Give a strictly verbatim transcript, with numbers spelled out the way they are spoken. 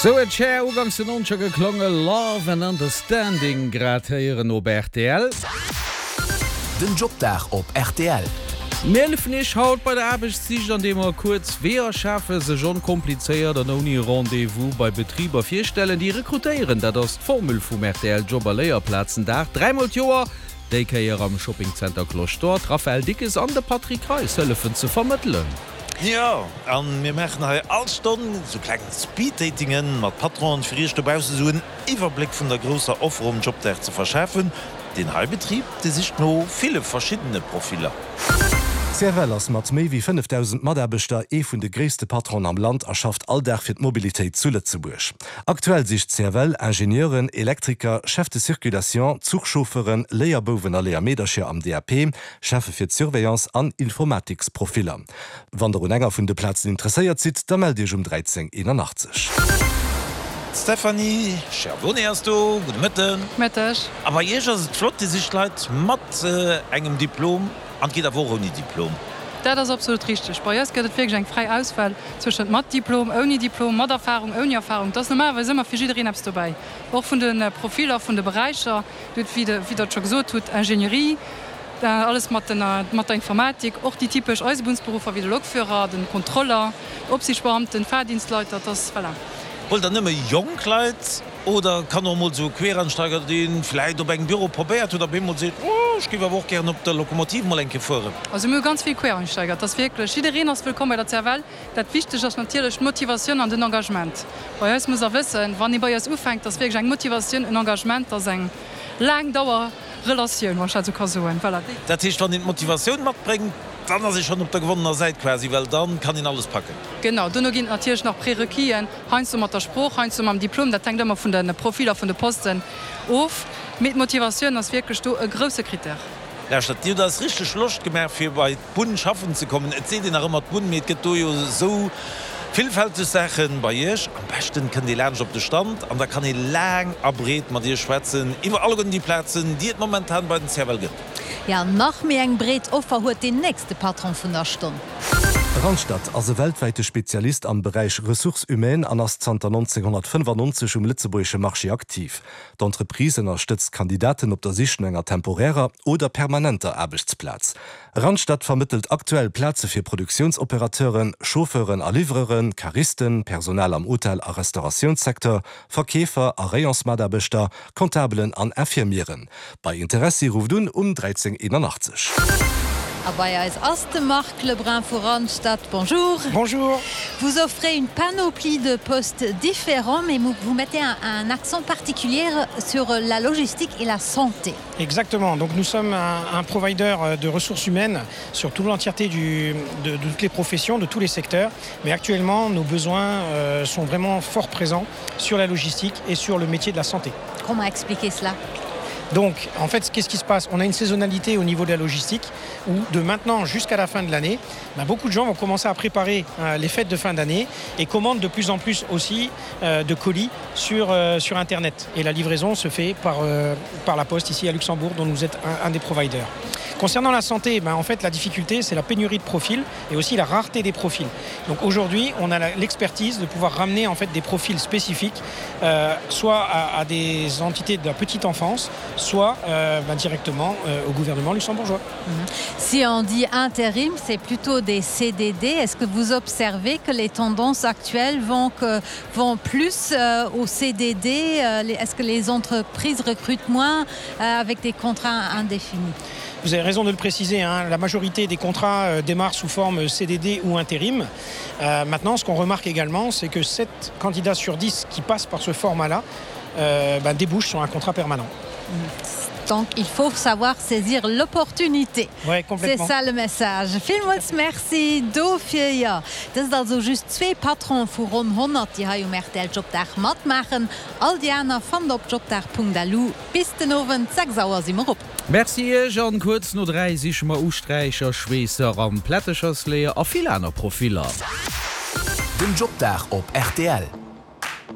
Sou huet Cher ugangs den Nonzeger geklonge Love and Understanding grad héieren op rtl. Den Jobdag op rtl. Mir hëllefen Iech haut bei der Aarbechtssich an deem mer kuerz Weeër schafen, sech onkomplizéiert an ouni Rendez-vous bei Betriber virstellen, déi rekrutéieren. Dat ass d'Formule vum rtl Job a Léierplazendag. Dräimol d'Joer, déi Kéier am Shoppingzenter Cloche d'Or. D'Raphaëlle Dickes an de Patrick Reis hëllefen ze vermëttelen. Jo, a mir maachen hei all Stonn sou kleng Speed-Datingen mat Patronen, fir iech dobausse sou en Iwwerbléck vun der grousser Offer um Jobdag ze verschafen. Deen hei Betrib, dee sicht no ville verschiddene Profiller. C F L ass mat méi wéi fënnefdausend Mataarbechter ee vun de gréisste Patronen am Land a schafft all Dag fir d'Mobilitéit zu Lëtzebuerg. Aktuell sicht C F L Ingenieuren, Elektriker, Chef de circulation, Zuchchauffeuren, Léierbouwen a Léiermeedercher am D A P, Cheffe fir d'Surveillance an Informatiksprofiller. Wann der un enger vun de Plazen interesséiert sidd, da mellt Iech um dräizéng eenanachtzeg. D'Stéphanie Schiavone ass do, gudde Mëtten. Mëtteg. A bei Iech ass et flott, Dir sicht Leit mat engem Diplom an et geet awer och ouni Diplom. Dat ass absolut richteg. Bei eis gëtt et wierklech eng fräi Auswahl zwëschent mat Diplom, ouni Diplom, mat Erfahrung, ouni Erfahrung. Et ass normalerweis ëmmer fir jiddereen eppes dobäi. Och vun de Profiller, vun de Beräicher, wéi Der et scho gesot hutt, Ingénierie, alles mat mat der Informatik, och déi typesch Eisebunnsberuffer wéi de Lokführer, den Kontroller, Opsiichtsbeamten, Fahrdienstleiter, et ass, voilà. Huelt der nëmme jonk Leit oder kann och emol esou e Quereinsteiger, dee vläit op engem Büro probéiert huet, op eemol seet, Oh, ech géif awer och gären op der Lokomotiv mol eng Kéier fueren? Also mir hu ganz vill Quereinsteiger. Et ass wierklech, jiddereen ass wëllkomm bei der C F L. Dat Wichtegt ass natierlech d'Motivatioun an den Engagement. Bei eis muss der wëssen, wann ee bei eis ufänkt, ass wierklech eng Motivatioun, en Engagement, ass eng laang Dauer Relatioun, wann ech dat esou ka soen. Voilà. Dat heescht, wann een d'Motivatioun matbréngt, dann ass ee schonn op der gewonnener Säit quasi, well dann kann een alles packen. Genau, dono ginn et natierlech nach Prérequisen, heiansdo mat der Sprooch, heiansdo mam Diplom, dat hänkt ëmmer vun de Profiller vun de Posten of, mee d'Motivatioun ass wierklech do e grousse Critère. Lauschtert, Dir hutt eis richteg Loscht gemaach fir bei d'Bunn schaffen ze kommen. Et seet een nach ëmmer d'Bunn, mee et gëtt do jo esou villfälteg Saachen bei Iech. Am beschten kënnt ee laanscht op de Stand an da kann ee laang a breet mat Iech schwätzen iwwer alleguerten déi Plazen, déi et momentan bei den C F L gëtt. Ja, nach méi eng breet Offer huet deen nächste Patron vun der Stonn. Randstad ass e weltwäite Spezialist am Beräich Ressources humaines an ass zanter nonzénghonnertfënnefannonzeg um lëtzebuergesche Marché aktiv. D'Entreprise ënnerstëtzt Kandidaten op der Sich no enger temporärer oder permanenter Aarbechtsplaz. Randstad vermëttelt aktuell Plaze fir Produktiounsoperateuren, Chauffeuren a Livreuren, Caristen, Personal am Hotel a Restauratiounssecteur, Verkeefer a Rayonsmataarbechter, Comptabelen an Infirmieren. Bei Interessi rufft un um dräizéng eenanachtzeg. A bei eis ass de Marc Lebrun vu Randstad. Bonjour. Bonjour. Vous offrez une panoplie de postes différents, mais vous mettez un, un accent particulier sur la logistique et la santé. Exactement. Donc nous sommes un, un provider de ressources humaines sur toute l'entièreté du, de, de toutes les professions, de tous les secteurs. Mais actuellement, nos besoins euh, sont vraiment fort présents sur la logistique et sur le métier de la santé. Comment expliquer cela? Donc, en fait, qu'est-ce qui se passe? On a une saisonnalité au niveau de la logistique où de maintenant jusqu'à la fin de l'année, ben, beaucoup de gens vont commencer à préparer euh, les fêtes de fin d'année et commandent de plus en plus aussi euh, de colis sur, euh, sur Internet. Et la livraison se fait par, euh, par la poste ici à Luxembourg, dont nous êtes un, un des providers. Concernant la santé, ben, en fait, la difficulté, c'est la pénurie de profils et aussi la rareté des profils. Donc aujourd'hui, on a l'expertise de pouvoir ramener en fait des profils spécifiques, euh, soit à, à des entités de la petite enfance, soit euh, ben, directement euh, au gouvernement luxembourgeois. Mhm. Si on dit intérim, c'est plutôt des C D D. Est-ce que vous observez que les tendances actuelles vont, que, vont plus euh, au C D D? euh, Est-ce que les entreprises recrutent moins euh, avec des contrats indéfinis? Vous avez raison de le préciser, hein, la majorité des contrats euh, démarrent sous forme C D D ou intérim. Euh, maintenant, ce qu'on remarque également, c'est que sept candidats sur dix qui passent par ce format-là euh, ben, débouchent sur un contrat permanent. Donc il faut savoir saisir l'opportunité. Ouais, C'est ça le message. Villmools Merci dofir. Jo, dat sinn also just zwee Patronen vu ronn honnert, déi hei um R T L Jobdag matmaachen. All déi aner fannt der op jobdag Punkt L U. Bis den Owend sechs Auer si mer op. Merci Iech an kuerz no dräi siche mer Usträicher, Schweesser an Plättechersleeër a vill aner Profiller. Den Jobdag op R T L.